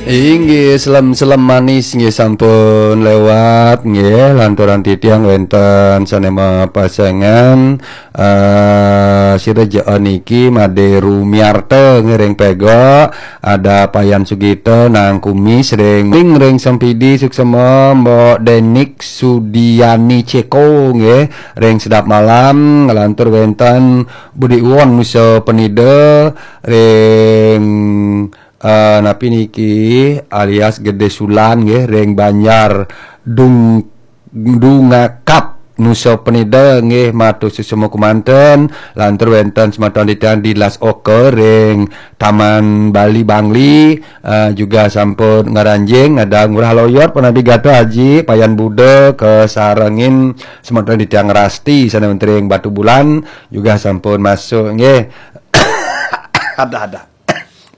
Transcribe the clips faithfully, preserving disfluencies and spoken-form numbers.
Inggih, selem-selem manis nggih sampun lewat nggih, lanturan titiang wenten sane mapasengan, eh, sira jaan niki Made Rumiarta nggih ring Pego, ada Payan Sugita nang Kumis ring, ring Sempidi, suksema Mbok Denik Sudiani Ceko nggih ring Sedap Malam, ngelantur wenten Budi Uwon Nusa Penida ring, eh, napi niki, alias Gede Sulan nggih, ring Banjar Dung-, Dungakap Nusa Penida nggih, matur suksma kemanten, lantur wenten semeton titiang di Las Oka ring Taman Bali Bangli, eh, juga sampun ngranjing, ada Ngurah Loyot, Panabi Gata Aji, Payan Buda, kasarengin semeton titiang Rasti, sane wenten ring Batu Bulan, juga sampun masuk nggih. Ada, ada.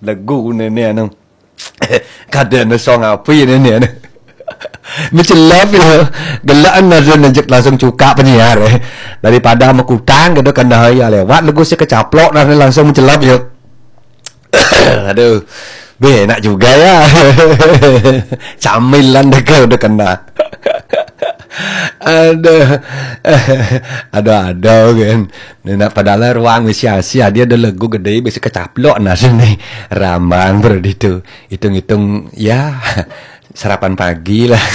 Legu nene anu. Kada anu song apa ya nene anu. Mecelep ya. Gelaan ada nejek langsung cuka penyiar, eh. Daripada mekutang kada kena ya lewat legu si kecaplok nah langsung mecelep ya. Aduh. Be, enak juga ya. Camilan deka udah kena. Aduh. Aduh, aduh kan. Nah, padahal ruang wis sia-sia, dia ada legu gede, bisa kecaplok nah sini. Rambang berarti itu. Hitung-hitung, ya, sarapan pagi lah.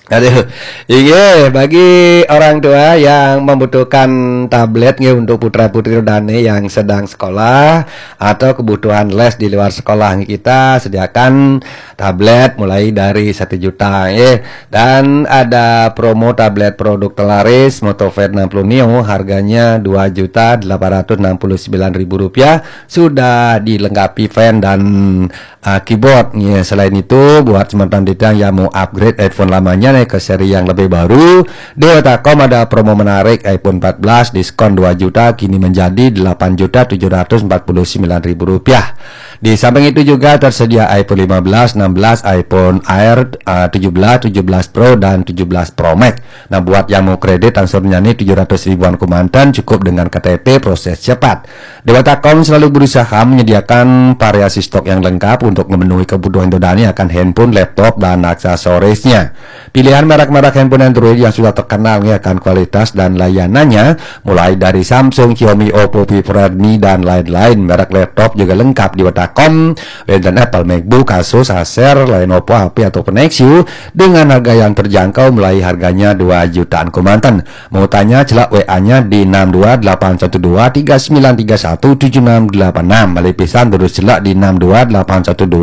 Aduh, iya, bagi orang tua yang membutuhkan tablet nggih untuk putra putri dane yang sedang sekolah atau kebutuhan les di luar sekolah, kita sediakan tablet mulai dari satu juta ya. Dan ada promo tablet produk terlaris Motovate enam puluh Neo, harganya dua juta delapan ratus enam puluh sembilan ribu rupiah, sudah dilengkapi fan dan, ah, keyboard. Ya, selain itu, buat semeton titiang yang mau upgrade iPhone lamanya nih ke seri yang lebih baru, di Wetakom ada promo menarik, iPhone empat belas diskon dua juta, kini menjadi delapan juta tujuh ratus empat puluh sembilan ribu rupiah. Di samping itu juga tersedia iPhone lima belas, enam belas, iPhone Air, ah, tujuh belas, tujuh belas Pro, dan tujuh belas Pro Max. Nah, buat yang mau kredit langsung nyanyi tujuh ratus ribuan kemanten, cukup dengan K T P, proses cepat. Dewatakom selalu berusaha menyediakan variasi stok yang lengkap untuk memenuhi kebutuhan Dodani akan handphone, laptop, dan aksesorisnya. Pilihan merek-merek handphone Android yang sudah terkenal ya akan kualitas dan layanannya, mulai dari Samsung, Xiaomi, Oppo, Vivo, Redmi, dan lain-lain. Merek laptop juga lengkap di Wetakom, wenten Apple, MacBook, Asus, Acer, Lenovo, H P, ataupun Nexus dengan harga yang terjangkau, mulai harganya dua jutaan kemanten. Mau tanya, celak W A-nya di enam dua delapan satu dua tiga sembilan tiga satu tujuh enam delapan enam. Malih pisan terus celak di enam dua delapan satu dua